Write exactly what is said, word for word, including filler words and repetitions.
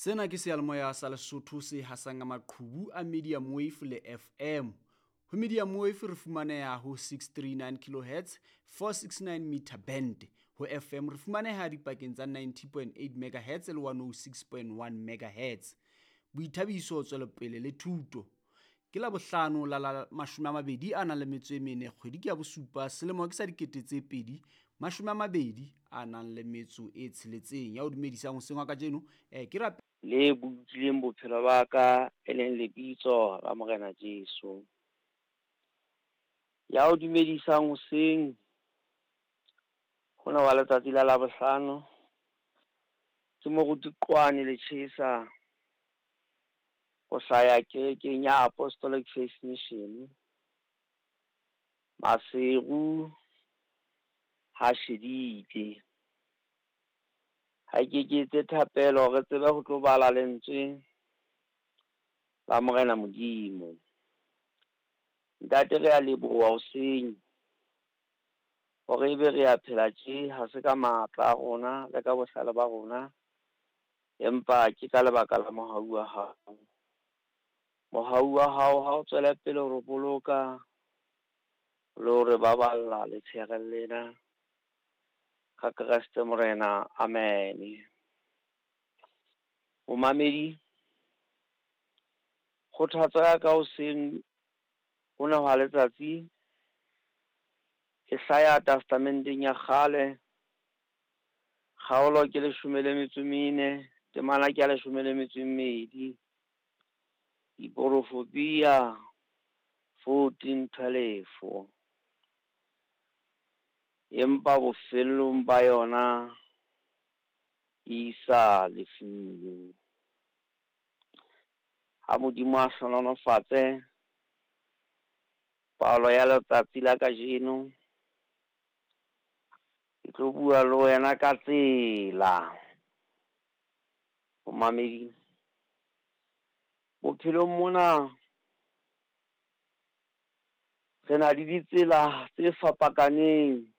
Sena ke seyalemoya sa Lesotho se hasang ka maqhubu a medium wave le F M. Ho medium wave re fumaneha ho six three nine kilohertz, four six nine meter band. Ho F M re fumaneha dipakeng tsa ninety point eight megahertz le one oh six point one megahertz. Boithabiso, tswelopele le thuto. Ke la bohlano la la mashome a mabedi a nang le metso e mene, kgwedi ke ya bosupa, selemo ke sa dikete tse pedi mashome a mabedi a nang le metso e tsheletseng. Ya o dumedisang hoseng wa kajeno eh, ke rape le bolokileng bophelo ba ka, e leng lebitso la Morena Jesu. Ya o dumedisang hoseng hona wa letsatsi la Labohlano ke moruti Qwane Letjhesa, ho hlaya kerekeng ya Apostolic Faith Mission, Maseru ha Shedile. Ha ke ke etse thapelo re tsebe ho tlo bala lentswe la Morena Modimo. Ntate, re a leboha hoseng hore ebe re a phela tje, ha se ka matla a rona le ka bohlale ba rona, empa ke ka lebaka la mohau wa hao. Mohau wa hao ha o tswele pele ho re boloka le ho re baballa letsheare lena ka Kreste Morena, amen. Momamedi, kgothatso ya ka hoseng hona hwa letsatsi e hlaya testamenteng ya kgale, kgaolo ke leshome le metso e mene, temana ke ya leshome le metso e mmedi, Diporofopia fourteen twelve. Empa bofellong ba yona e isa lefung. Ha Modimo a hlohonolofatse palo ya letsatsi la kajeno, ke tlo bua le wena ka tsela. Momamedi, bophelong mona re na le ditsela tse fapakaneng